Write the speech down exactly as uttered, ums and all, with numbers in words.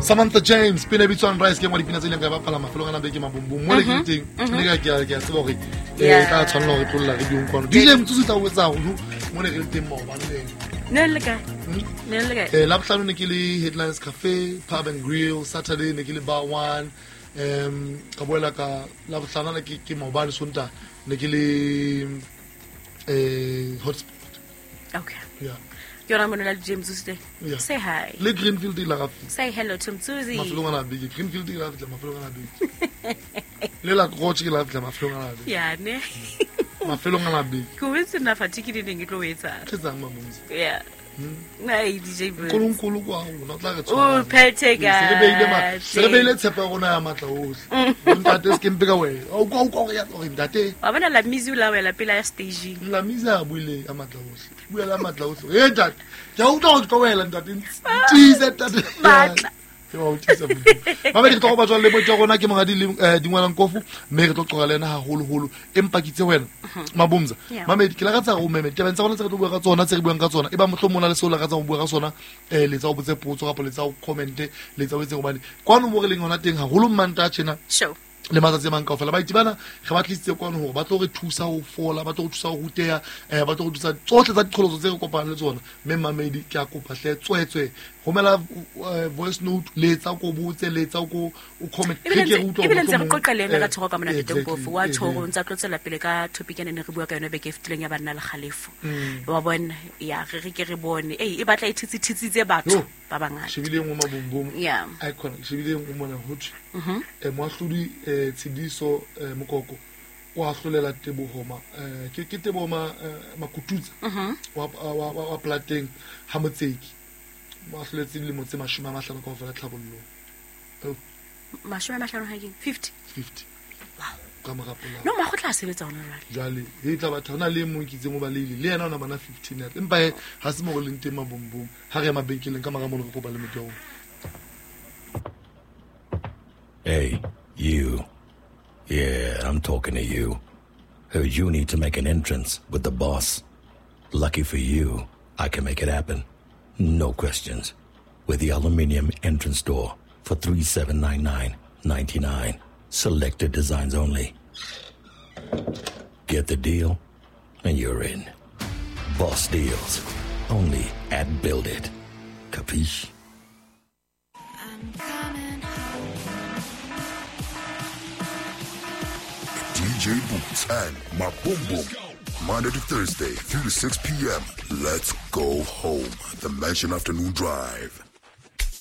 Samantha James pina e bitswang Rice ke nngwe ya dipina tse ileng ka bapala mafelong ana beke mabumbum mo le ke teng ne ka ke a ke a tseba hore eh tla tshwanela hore tlolla radiong kwano D J Motsosi tla o etsa haholo mo ne re le teng maobane le ne le kae ne le kae eh Labohlano ne ke le Headlines Cafe Pub and Grill, Saturday ne ke le Bar One, um ka boela ka Labohlano ne ke ke maobane Sontaha ne ke le eh Hotspot. Okay. Yeah. Ke yona mona le James Motsosi. Yeah. Say hi. Le Greenfield la ga fihla. Say hello to Motsosi. Mafelong ana beke Greenfield la fihla mafelong ana beke. Le la Roche ke la fihla mafelong ana beke. Yeah ne. Mafelong ana beke. Ke wetse na fatigue di neng e tlo etsa. Ke tsang mamomzi. Yeah. Nei D J Boots. Nkulunkulu kwa rona o tla re tshwara. O phethe ka. Se re beile ma, se re beile tshepo ya rona ya matla ohle. Ntate se ke mpe ka wena. O kwa o kwa ya gore ntate. Wa bona la mizi la wela pela ya staging. La mizi a buile ya matla ohle. Bua la matla ohle. Eh ntate. Ke a utlwa gore ka wela ntate. Tiise ntate. Matla. Ke wa utlwisa Modimo. Mamedi re tlo go batswa le botsa rona ke Monghadi le Dingwalang Kofu mme re tlo qoqa le ena haholoholo empa ke itse wena Mabomza. Mamedi ke lakatsa go meme tabeng tsa rona tse re tlo bua ka tsona tse re buang ka tsona e ba mohlomong na le seo lakatsa go bua ka sona eh letsa o botse potso kapa letsa o comment letsa o etse hobane kwano mo re leng hona teng haholo Mmantaha tjena le matsatsi a mang kaofela ba itibana re ba tlisitse kwano hore ba tlo re thusa ho fola ba tlo re thusa ho ruteha eh ba tlo re thusa tsohle tsa diqholotso tse re kopanang le tsona mme mamedi ke a kopa hle tswetswe romela voice note letsa ko botse letsa ko o comment ke ke utlwa ebile ntse re qoqa le ena ka thoko ka mona Teng Pofu wa thoko ntse tlo tswela pele ka topic ene ne re bua ka yona beke e fetileng ya banna le kgalefo wa bona ya re re ke re bone ei e batla e thitsithitsitse batho ba bangata shebile ngwe mabumbum icon shebile ngwe mona ho thwe eh moahlodi eh Tshidiso Mokoko o ahlolela Teboho ma ke ke Teboho ma Makututsa wa wa wa Plateng ha Motseki mo ahloletse dilemo tse mashome a mahlano kaofela tlhabollong mashome a mahlano ha ke fifty fifty wow ka mora polao no magotla a sebetsa hona jwale jwale e tla batho hona le mong ke itseng o baleile le yena ona bana fifteen ya empa ha se mo go leng teng mabombom ha re ya mabenkeleng ka mora mono re kopa le motho wa Hey, you. Yeah, I'm talking to you. Heard you need to make an entrance with the boss. Lucky for you, I can make it happen. No questions. With the aluminium entrance door for three seven nine nine ninety-nine. Selected designs only. Get the deal, and you're in. Boss deals. Only at Build It. Capiche? I'm coming home. D J Boots and Mabumbum. Monday to Thursday, three to six p.m. Let's go home. The Mansion Afternoon Drive.